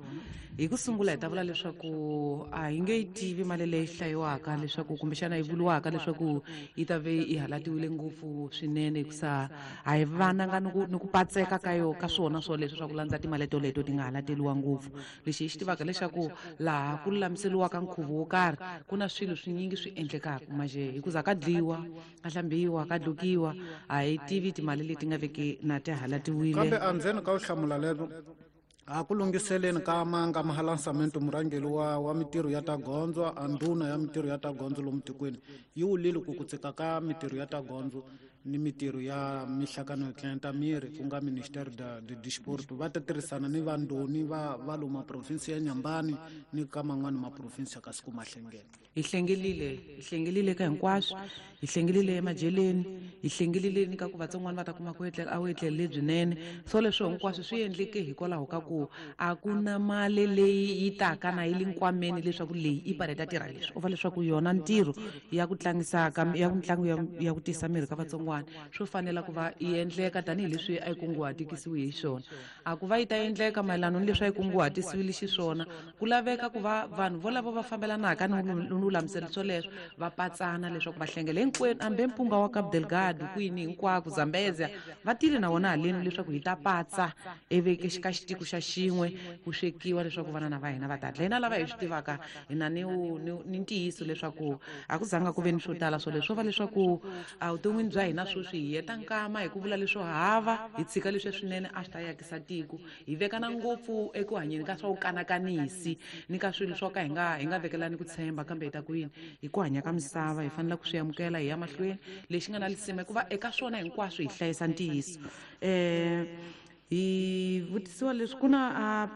Hi ku sungula hi ta vula leswaku a hi nge yi tivi mali leyi hlayiwaka leswaku kumbexana yi vuriwaka leswaku yi ta ve yi halatiwile ngopfu swinene hikusa a hi vananga ni ku ni ku patseka ka yo ka swona swoleswo swa ku landza timali toleto ti nga halateliwa ngopfu. Lexi hi xi tivaka leswaku laha ku lulamiseriwaka nkhuvo wo karhi ku na swilo swinyingi swi endlekaka maje hikuza ka dliwa ka hlambiwa ka dlukiwa a hi tivi timali leti nga veki na ti halatiwile. Kambe andzeni ka u hlamula lero a ku lunghiseleni ka manga mahalansamento murhangeri wa wa mitirho ya ta gondzo a ndhuna ya mitirho ya ta gondzo lomu tikweni yi wulile ku ku tsika ka mitirho ya ta gondzo ni mitirho ya mihlakano yo tlenta miri ku nga Ministério da de Desporto va ta tirhisana ni vandoni va va lomu province ya Nyambani ni ka man'wani ma province kasi ku mahlengela. Hi hlengelile hi hlengelile ka hinkwaswo hi hlengelile emajeleni hi hlengelile ni ka ku vatsongwana va ta kuma ku etlela a wu etlele lebyinene so leswo hinkwaswo swi endleke hikwalaho ka ku a ku na mali leyi yi taka na yi le nkwameni leswaku leyi i pareta tirha leswi u va leswaku yona ntirho ya ku tlangisa ka ya mitlangu ya ya ku tisa miri ka vatsongwana swo fanela ku va yi endleka tanihileswi a yi kunguhatikisiwe hi xona. A ku va yi ta endleka mayelana ni leswi a yi kunguhatisiwile xiswona ku laveka ku va vanhu volavo va fambelanaka ni lulamiselo swoleswo va patsana leswaku va hlengela hinkwenu ambe mpunga wa Cabo Delgado kwini hinkwako Zambezia va tile na wona haleni leswaku hi ta patsa eveke ka xitiko xa xin'we ku swekiwa leswaku vana na va hina va ta dla. Hina lava hi swi tivaka hina ni ni ntiyiso leswaku a ku zanga ku ve ni swo tala swoleswo va leswaku evuton'wini bya hina sweswi hi heta nkama hi ku vula leswo hava hi tshika leswi swinene a swi ta yakisa tiko hi vekana ngopfu eku hanyeni ka swa vukanakanisi ni ka swilo swo ka hi nga hi nga vekelani ku tshemba kambe hi ta ku yini hi ku hanya ka misava hi fanele ku swi amukela hi ya mahlweni. Lexi nga na lisima hikuva eka swona hinkwaswo hi hlayisa ntiyiso. Eh hi vutisiwa leswi ku na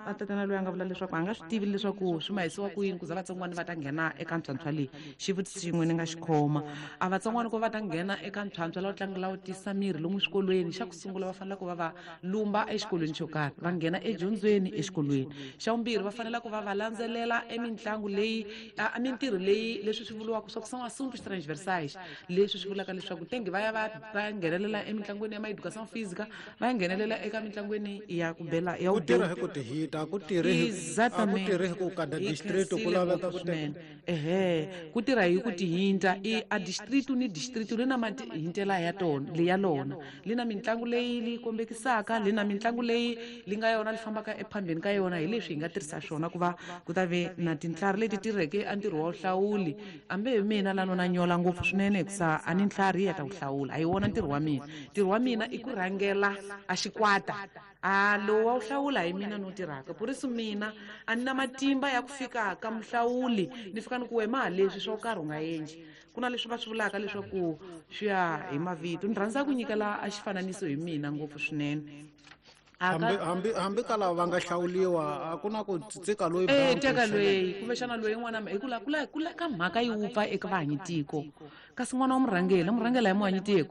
a tatana loyi a nga vula leswaku a nga swi tivi leswaku swi mahisiwa ku yini ku za vatsongwana va ta nghena eka ntlhantlha leyi xivutiso xin'we ni nga xi khoma a vatsongwana ku va ta nghena eka ntlhantlha lawo tlanga lawo tisa miri lomu swikolweni xa ku sungula va fanele ku va va lumba exikolweni xo karhi va nghena edyondzweni exikolweni xa vumbirhi va fanele ku va va landzelela emitlangu leyi a mintirho leyi leswi swi vuriwaka swa ku são assuntos transversais leswi swi vulaka leswaku tenge va ya va va nghenelela emitlangwini ya ma-educação física va ya nghenelela eka mitlangu ya ku bela ya ku tirha hi ku tihita ku tirhi a ku tirhi hi ku kada district ku laveka ku swinene ehe ku tirha hi ku tihinta i a district ni district li na mahintela ya tona le ya lona li na mitlangu leyi li kombekisaka li na mitlangu leyi li nga yona li fambaka ephambeni ka yona hi leswi hi nga tirhisa swona ku va ku ta ve na tintlhari leti tirheke a ntirho wa vuhlawuli ambe hi mina lano na nyola ngopfu swinene hikusa a ni ntlhari ya ta ku hlawula a hi wona ntirho wa mina ntirho wa mina i ku rhangela a xikwata A lowu wa wu hlawula hi mina no tirhaka por isso mina a ni na matimba ya ku fika ka muhlawuli ni fika ni ku wema leswi swo karhi u nga endli. Ku na leswi va swi vulaka leswaku swi ya hi mavito. Ni rhandza ku nyikela a xifananiso hi mina ngopfu swinene. Hambi hambi hambi ka lava va nga hlawuliwa a ku na ku tsika loyi eh teka loyi kumbexana loyi n'wana hi ku la ku la ku la ka mhaka yi wupfa eka vahanyitiko kasi n'wana wa murhangeri murhangeri hi muhanyitiko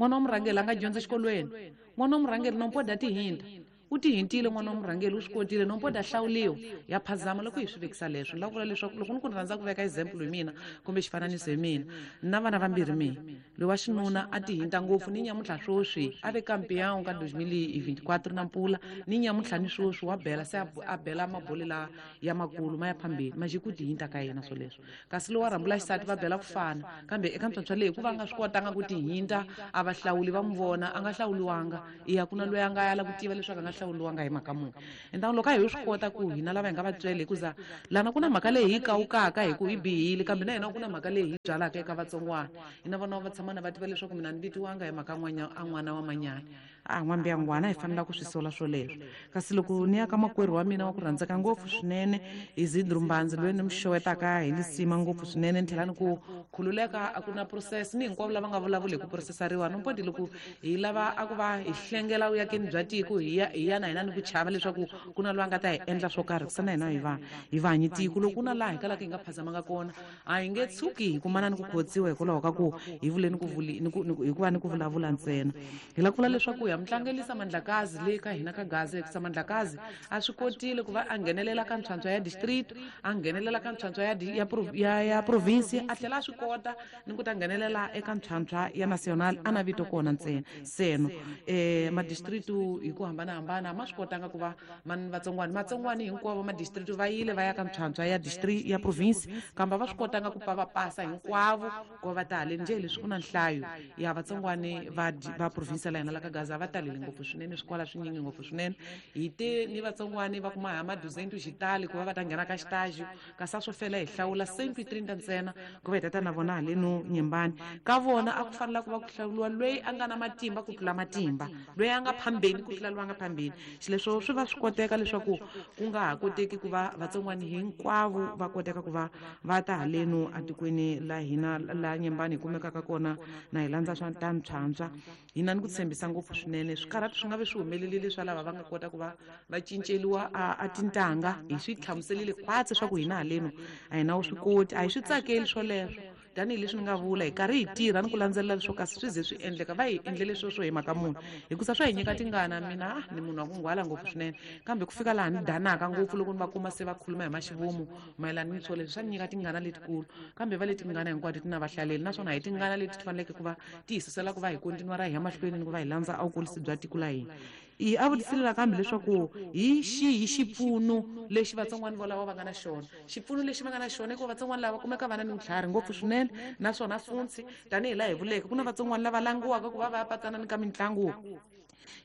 n'wana wa murhangeri a nga dyondza exikolweni n'wana wa murhangeri nompoda tihinta u tihintile n'wana wa murhangeri u swi kotile nompoda hlawuliwa ya phazama loko hi swi vekisa leswo. Ni lava ku vula leswaku loko ni ku ni rhandza ku veka example hi mina kumbe xifananiso hi mina na vana vambirhi mina loyi wa xinuna a tihinta ngopfu ni nyamuntlha swoswi a ve kampeão ka dois mil e vinte e quatro na mpula ni nyamuntlha ni swoswi wa bela se a bela mabole la ya makulu ma ya phambili ma ku tihinta ka yena swoleswo. Kasi loyi wa rhambula xisati va bela ku fana kambe eka ntswantswa leyi ku va nga swi kotanga ku tihinta a va hlawuli va n'wi vona a nga hlawuliwanga iya ku na loyi a nga yala ku tiva leswaku a nga hlawuliwanga hi mhaka muni. Enta loko a hi swi kota ku hina lava hi nga vatswele hikuza lana ku na mhaka leyi hi kawukaka hi ku hi bihile kambe na hina ku na mhaka leyi hi byalaka eka vatsongwana hina vana va tshama na va tiva leswaku mina ni vitiwanga hi mhaka n'wana a n'wana wa manyana a n'wambi ya ngwana hi fanela ku swi sola swoleswo. Kasi loko ni ya ka makwerhu wa mina wa ku rhandzeka ngopfu swinene Isidro Mbanzi loyi ni mi xewetaka hi lisima ngopfu swinene ni tlhela ni ku khululeka a ku na process ni hinkwavo lava nga vulavuli hi ku processariwa nompodi loko hi lava a ku va hi hlengela vuyakeni bya tiko hi ya hi ya na hina ni ku chava leswaku ku na loyi a nga ta hi endla swo karhi kusa na hina hi va hi va hanyi tiko loko ku na laha hi kalaka hi nga phazamanga kona a hi nge tshuki hi kumana ni ku khotsiwa hikwalaho ka ku hi vule ni ku vuli ni ku hikuva ni ku vulavula ntsena. Hi lava ku vula leswaku ya mutlangelisa Mandlakazi le ka hina ka Gaza hikusa Mandlakazi a swi kotile ku va a nghenelela ka ntswantswa ya district a nghenelela ka ntswantswa ya ya ya, ya province a tlhela a swi kota ni ku ta nghenelela eka ntswantswa ya national a na vito kona ntsena seno eh madistrict hi ku hambanahambana ma swi kotanga ku va man vatsongwani matsongwani hinkwavo madistrict va yile va ya ka ntswantswa ya district ya province kambe va swi kotanga ku pa va pasa hinkwavo ku va ta haleni njhe leswi ku na nhlayo ya vatsongwani va va province la hina la ka Gaza va talele ngopfu swinene swikwala swinyingi ngopfu swinene hi te ni vatsongwani va kuma ha maduzento xitali ku va va ta nghena ka xitaji kasi a swo fela hi hlawula cento e trinta ntsena ku va hi tata na vona haleno Nyembani ka vona a ku fanela ku va ku hlawuliwa loyi a nga na matimba ku tlula matimba loyi a nga phambeni ku tlula loyi a nga phambeni xileswo swi va swi koteka leswaku ku nga ha koteki ku va vatsongwani hinkwavo va koteka ku va va ta haleno atikweni la hina la Nyembani hi kumekaka kona na hi landza swa ta ntswantswa hina ni ku tshembisa ngopfu swinene swikarhati swi nga ve swi humelelile swa lava va nga kota ku va va cinceliwa a, a tintanga hi swi hlamuselile khwatsi swa ku hina haleno a hi na wu swi koti a hi swi tsakeli swoleswo tanihileswi ni nga vula hi karhi hi tirha ni ku landzelela leswo kasi swi ze swi endleka va hi endlele sweswo hi mhaka munhu hikusa swa hi nyika tingana mina ni munhu wa ku nghwala ngopfu swinene kambe ku fika laha ni danaka ngopfu loko ni va kuma se va khuluma hi maxivomu mayelana ni swoleswo swa ni nyika tingana letikulu kambe va leti tingana hinkwato ti na vahlaleli naswona hi tingana leti ti faneleke ku va ti hi susela ku va hi kontinuara hi ya mahlweni ni ku va hi landza a vukurisi bya tiko la hina. I a vutisile nakambe leswaku hi xihi xipfuno lexi vatsongwani volavo va nga na xona xipfuno lexi va nga na xona i ku vatsongwani lava kumeka va na ni vutlhari ngopfu swinene naswona funtsi tanihi laha hi vuleke ku na vatsongwani lava langiwaka ku va va ya patsana ni ka mitlangu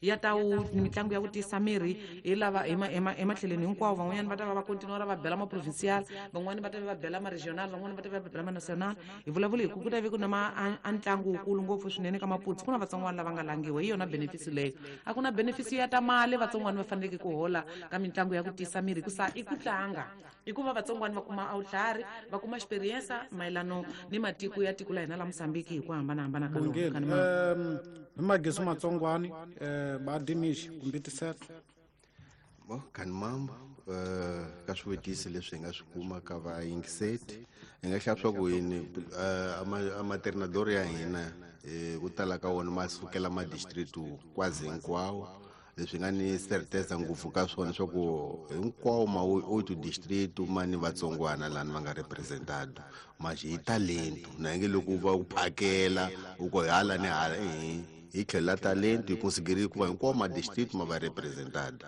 ya ta wu mitlangu ya ku tiyisa miri hi lava ematlhelweni hinkwawo van'wanyana va ta va va kontinuara va bela ma-provincial van'wani va ta va va bela ma-regional van'wani va ta va va bela ma-national hi vulavula hi ku ku ta ve ku na ma a ntlangu wukulu ngopfu swinene ka Maputsu ku na vatsongwana lava nga langiwa hi yona benefisi leyo a ku na benefisi ya ta mali vatsongwana va faneleke ku hola ka mitlangu ya ku tiyisa miri hikusa i ku tlanga i ku va vatsongwana va kuma awutlhari va kuma experience mayelano ni matiko ya tiko la hina la Mozambique hi ku hambanahambana ka lona. Hi magezi matsongwani ba dimixi kumbe tisela bo kan mambo eh ka swivutiso leswi hi nga swi kuma ka vayingiseti hi nga xava swa ku yini amaternador ya hina ku tala ka wona ma sukela ma district kwazi hinkwawo leswi nga ni certeza ngopfu ka swona swa ku hinkwawo ma oito district ma ni vatsongwana lani va nga representado manje hi talento na nge loko va ku phakela u ko hala ni hala ehe hi tlhela talento hi considerile ku va hinkwawo ma district ma va representado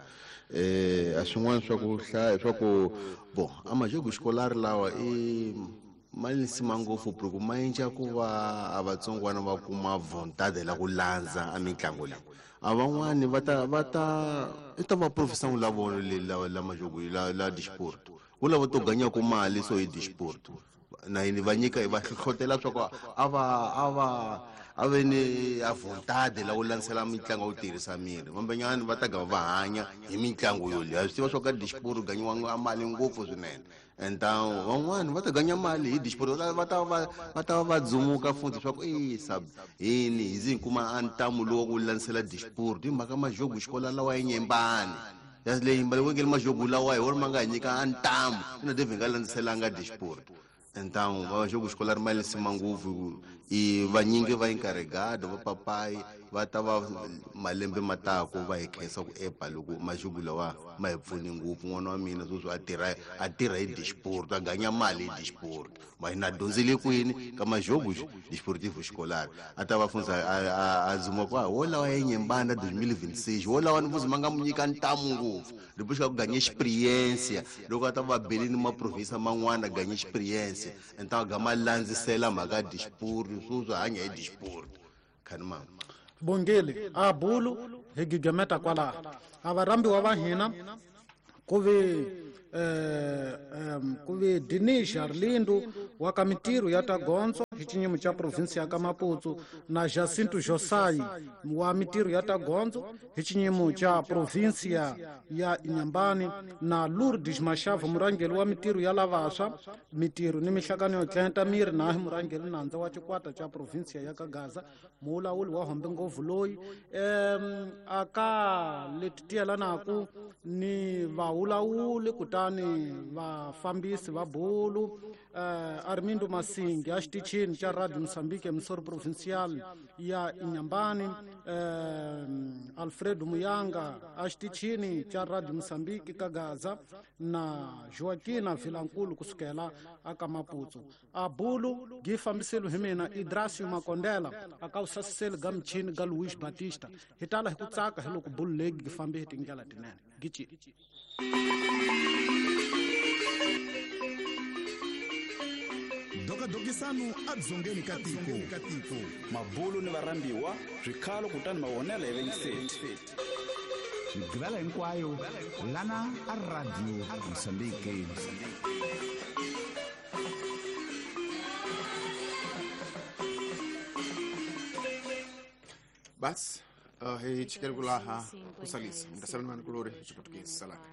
eh a swin'wana swa ku hlaya swa ku bon a majogo xikolari lawa i ma lisima ngopfu ku ma endla ku va a vatsongwana va kuma vontade la ku landza a mitlangu leyi a van'wani va ta va ta i ta va professor la vona le la la majogo la la disport ku lava to ganya ku mali so hi disport na yini va nyika va hlohlotela swa ku a va a va a ve ni a vontade la ku landzela mitlangu ya ku tirhisa miri vambenyani va ta gama va hanya hi mitlangu yoleyo a swi tiva swa ka disport ganyiwa a mali ngopfu swinene então van'wani va ta ganya mali hi disport va ta va va ta va dzumuka futhi swa ku e sab hini hi zi kuma a ntamu lowu ku landzela disport hi mhaka majogo xikola lawa ya nyembani ya leyi mbali majogo lawa hi wona ma nga hi nyika a ntamu ina deve nga landzelanga disport então va jogo escolar mali sima ngopfu i vanyingi va encarregado va papai va ta va malembe matako va hi khensa ku epa loko majogo lawa ma hi pfuni ngopfu n'wana wa mina sweswi a tirha a tirha hi disport a ganya mali hi disport ma hina dyondzile kwini ka majogo disportivo escolar a ta va fundza a dzuma ku wo lawa ya nyembana twenty twenty-six wo lawa ni fuzi ma nga mu nyika ntamu ngopfu depois ka ku ganya experiência loko a ta va belini ma province man'wana ganya experiência então a gama landzisela mhaka disport sweswi hanya hi disport khani mama bongele a bulu hi gigameta kwalaho a varhambiwa va hina ku ve eh um ku ve Dinisha Arlindo wa ka mitirho ya ta gondzo hi xinyimo xa province ya ka Maputo na Jacinto Josai wa mitirho ya ta gondzo hi xinyimo xa province ya Inhambane na Lourdes Mashava murhangeri wa mitirho ya lavaswa mitirho ni mihlangano yo tlenta miri na murhangeri nandza wa xikwata xa province ya ka Gaza mulawuli wa hombe ngopfu loyi um aka leti tiyelanaku ni vawulawuli kutani vafambisi va bulu uh, Armindo Masingi a xitichini xa Radio Mozambique emisori provincial ya Inhambane uh, Alfredo Muyanga a xitichini xa Radio Mozambique ka Gaza na Joaquina Vilankulu kusukela aka Maputo a bulu gi fambiselo hi mina Idrasio Makondela aka u sasiseli ga michini ga Luis Batista hi tala hi ku tsaka hi loko bulu leyi gi fambe hi tindlela tinene gici Dokadokisano adzongeni ka tiko mabulu ni varhambiwa swikhalo kutani mavonelo hi vengiseti migqivela hinkwayo lana a Radio Mozambique. Bas, uh, hi chikele kulaha kusalisa mntasala mani kulori xiputukezi salaka.